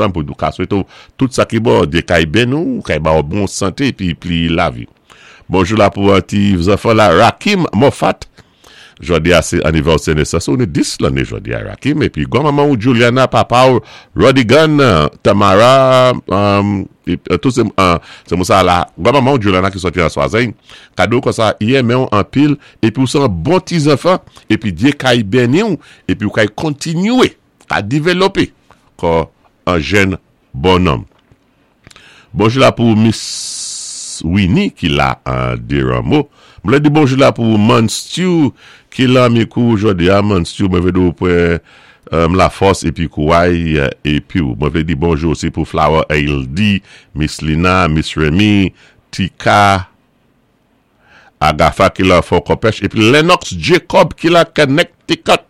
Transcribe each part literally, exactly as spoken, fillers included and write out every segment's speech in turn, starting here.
ansanm pou nou ka swété tout sa ki bon, Dye kay béni ou, kay ba ou bon santé épi pli lavi. Bonjou la pou an ti zanfan la Rakim Moffat. Jòdi a sé anivèsè nésans ou ni dis lanné jòdi a Rakim épi gwanmanman ou Juliana, papa ou Rodigan, Tamara, um, tout sé uh, sé moun sa la gwanmanman ou Juliana ki sòti an Swazey. Ka di ou konsa i enmen ou anpil épi ou sé an bon ti zanfan épi Dye kay béni ou épi ou kay kontinyé ka dévlopé kon an jèn bon nonm. Bonjou la pou Miss Winnie ki la an Desrameaux. Mwen di bonjou la pou Man Stew ki la Micoud jòdi a Man Stew mwen vlé di ou pwan um, lafòs épi kouway épi ou. Mwen vlé di bonjou osi pou Flower L D, Miss Lina, Miss Remy, Tika, Agafa ki la Fort Kopech épi Lennox Jacob ki la Connecticut.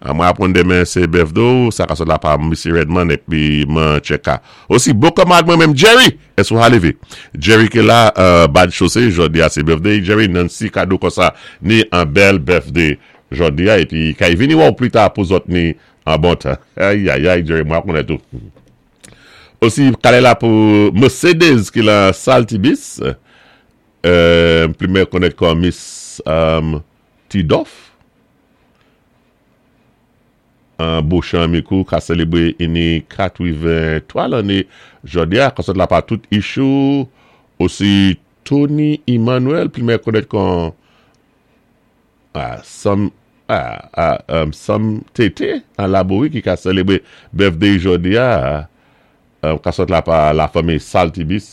Ah, mwen aprann demen sé birthday, sa ka sot la pa Missy Redman épi mwen cheka. Osi bon kanmarad mwen menm Jerry, èske ou lévé. Jerry ki la euh, bad chosé, jòdi a sé birthday Jerry. Nancy ka di ou konsa ni an bèl birthday jòdi a épi kay vini wè ou pli ta pou zòt ni an bon tan. Ay ay ay Jerry, mwen konnèt ou. Osi kale la pou Mercedes ki la Saltibis, euh, pli mwen konnèt kon Miss um, Tidoff. An Beauchamp Micoud ka sélébwé ini katwenntwa lanné jòdi a, ka sot la pa tout ichou. Osi Tony Emmanuel, pli mwen konnèt kon ah, Sam ah, ah, um, Sam Tete an Labouri ki ka sélébwé birthday jòdi a, um, ka sot la pa la fanmi Saltibis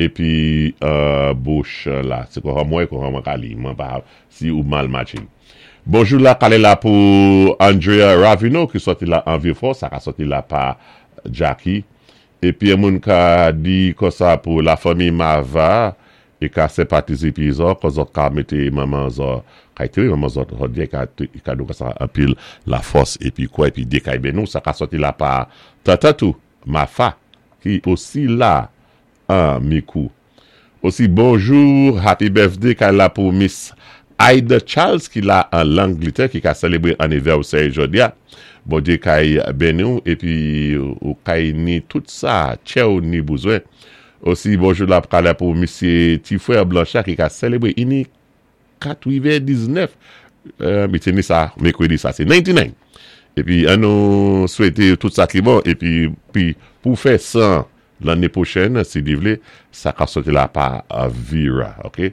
épi euh, Beauchamp la, sé kon mwen kon mwen ka li, mwen pa si ou mal matché. Bonjou la kale la pou Andrea Ravino ki sòti la an Vieux-Fort, sa ka sòti la pa Jackie. Épi yon moun ka di konsa pou la fanmi Mava é ka senpatizé pi zò, kon zòt ka mété manman zò, ka ité manman zòt jòdi ka ka di konsa anpil lafòs épi kwa épi Dye kay béni ou, sa ka sòti la pa tata tou Mafa ki osi la an Micoud. Osi bonjou, happy birthday kay la pou Miss Aida Charles ki la an Langletè ki ka sélébwé anivèsè jòdi a. Bon Dye kay béni ou épi ou kay ni tout sa tchè ou ni bezwen. Osi bonjou la kale pou Misye Tifrère Blanchard ki ka sélébwé ini katwenndiznèf. Euh, mi té ni sa mèkrèdi sa sé nannti-nine. Épi an nou swété tout sa ki bon épi pi pou fè san lanné pwochèn si Dye vlé, sa ka sòti la pa Vera, OK.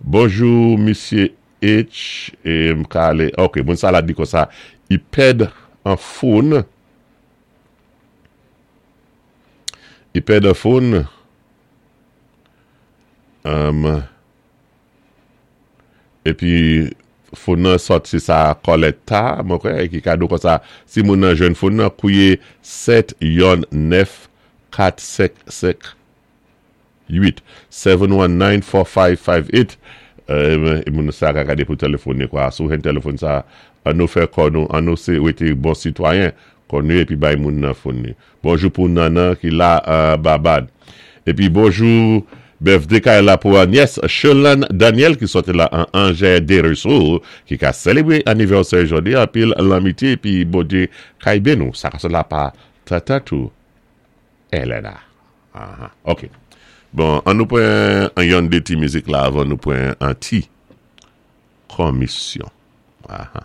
Bonjou Misye H é m ka alé, OK, moun sa la di konsa i pèd an phone. I pèd an phone. Um, épi phone nan sòti sa Coletta, mwen kwè, ki ka di ou konsa si moun nan jwenn phone nan kouye sèt yon nèf kat senk senk uit, seven one nine four five five eight. euh, moun sa ka gadé pou téléfòn kwa sou hen téléfòn sa an nou fè kò nou an nou sé wété bon sitwayen kon nou épi bay moun nan phone ni. Bonjou pou Nana ki la uh, Babad. Épi bonjou birthday kay la pou Agnès Chelan Daniel ki sòti la an Angers Desruisseaux ki ka sélébwé anivèsè jòdi a anpil lanmitié épi bon Dye kay béni ou. Sa ka sot la pa tata tou Elena. Ah, OK. Bon, an nou pwan an yon dé ti mizik la avan nou pwan an ti komisyon. Ah,